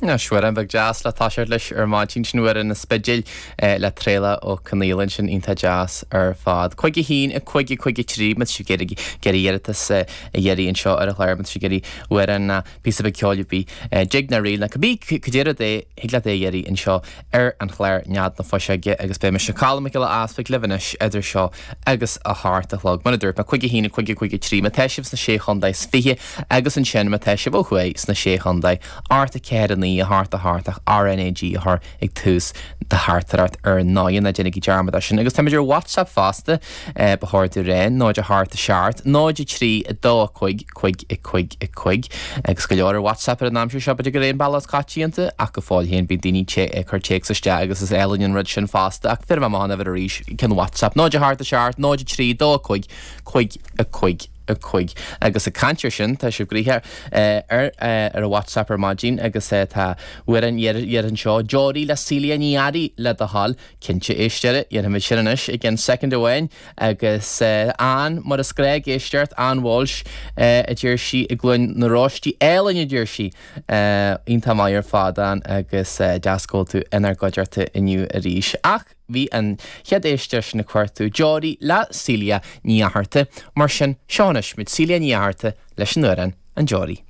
Anois, amhrán beag deas le toiseacht leis ar maidin sin Amhrán an Spidéil le Traolach Ó Conghaile ansin iontach deas ar fad. 5 1 5 5 3 má tá sibh ag iarraidh iarratas a iarraidh anseo ar an chlár má tá sibh ag iarraidh amhrán ná píosa beag ceoil ar bith jig ná ríl ná cibé cad é rud é thig leat é a iarraidh anseo ar an chlár Nead na Fuiseoige agus beidh mise Colm Mac Giolla Easpaig libh anois idir seo agus a hocht a chlog. Mar a dúirt mé, 5 1 5 5 3 má tá sibh sna Sé Chontae is Fiche agus ansin má tá sibh ó thuaidh sna Sé Chontae, 8 4 9 8 8 ach RnaG a chur ag tús do theachtaireacht ar ndóigh, ná déanaigí dearmad air sin. Agus táimid ar WhatsApp fosta, ba chóir domh a rá, 0 8 7 0 3 2 5 5 5 5 agus go leor ar WhatsApp ar an aimsir seo, b'fhéidir go raibh an bealach is coitianta ach go fóill féin bíonn daoine ag cur téacs isteach agus is álainn an rud sin fosta ach bhéarfaidh mé amach an uimhir arís, ceann WhatsApp, 0 8 7 0 3 2 5 5 5 5 agus ag caint ar sin tá sibh gnoitheach ar ar an WhatsApp ar maidin agus tá amhrán iarrtha anseo, Deoraí le Celia Ní Fhearraigh le do thoil. Cinnte, éisteoir, dhéanfaimid sin anois i gceann soicind amháin agus Ann, mar is gnách ag éisteacht, Ann Walsh a deir sí i gCluain na Róistí, álainn a deir sí! Iontach maith ar fad Ann agus deas go bhfuil tú inár gcuideachta inniu arís. Ach bhí an chéad éisteoir sin ag cuartú Deoraí le Celia Ní Fhatharta, mar sin seo anois muid Celia Ní Fhatharta leis an amhrán An Deoraí.